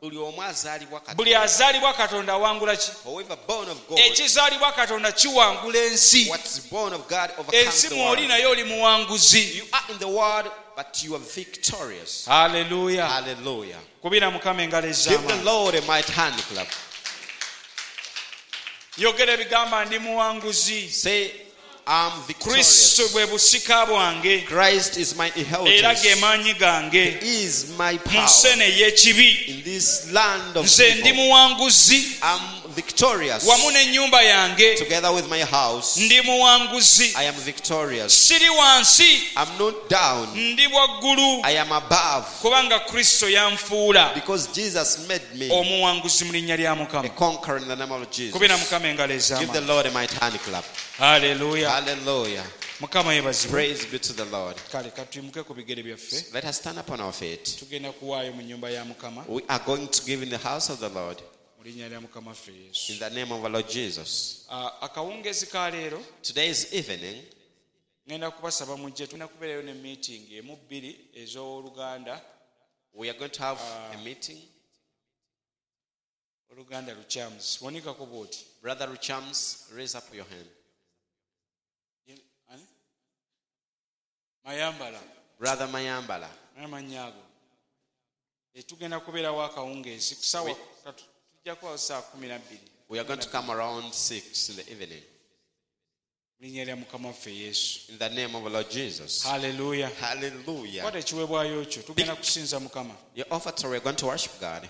Buli omu azaalibwa Buli Katonda. azaalibwa Katonda awangula ki? Whoever born of God, Ekizaalibwa Katonda kiwangula ensi. what's born of God overcomes Ensi the mw'oli world. naye oli muwanguzi. You are in the world, but you are victorious. Haleluya. Hallelujah. Kubira Mukama engalo Give the ez'amaanyi. Lord a mighty hand clap. Yogera ebigamba ndi muwanguzi. Say, I'm Kristo victorious. bwe busika bwange Christ is my era ge inheritance. maanyi gange He is my mu power. nsi eno ey'ekibi. In this land of Nze ndi evil, muwanguzi I'm victorious. wamu n'ennyumba yange. Together with my house, Ndi muwanguzi. I am victorious. Siri wansi, I'm not down. ndi waggulu I am above. kubanga Kristo yanfuula Because Jesus made me omuwanguzi mu linnya lya a Mukama. conqueror in the name of Jesus. Kubira Mukama engalo Give the ez'amaanyi. Lord a mighty hand clap. Haleluya. Hallelujah. Mukama yeebazibwe. Praise be to the Lord. Kale katuyimuke ku bigere byaffe. Let us stand up on our feet. Tugenda kuwaayo mu nnyumba ya Mukama We are going to give in the house of the Lord mu linnya lya Mukama waffe Yesu. in the name of our Lord Jesus. Ah, akawungeezi ka leero Today's evening, ŋŋenda kubasaba mujje tulina kubeerayo ne meeting emu bbiri ez'oluganda we are going to have a meeting. oluganda Luchams wanikako bw'oti. Brother Ruchams, raise up your hand. Ani? Mayambala. Brother Mayambala. Amannya ago. Eh, tugenda kubeerawo akawungeezi ku ssaawa tujja kubawo ssaawa 12. We are going to come around 6 in the evening. Mu linnya lya Mukama waffe Yesu. In the name of our Lord Jesus. Haleluya. Hallelujah. Kwata ekiweebwayo kyo tugenda kusinza Mukama. Your offertory, we are going to worship God.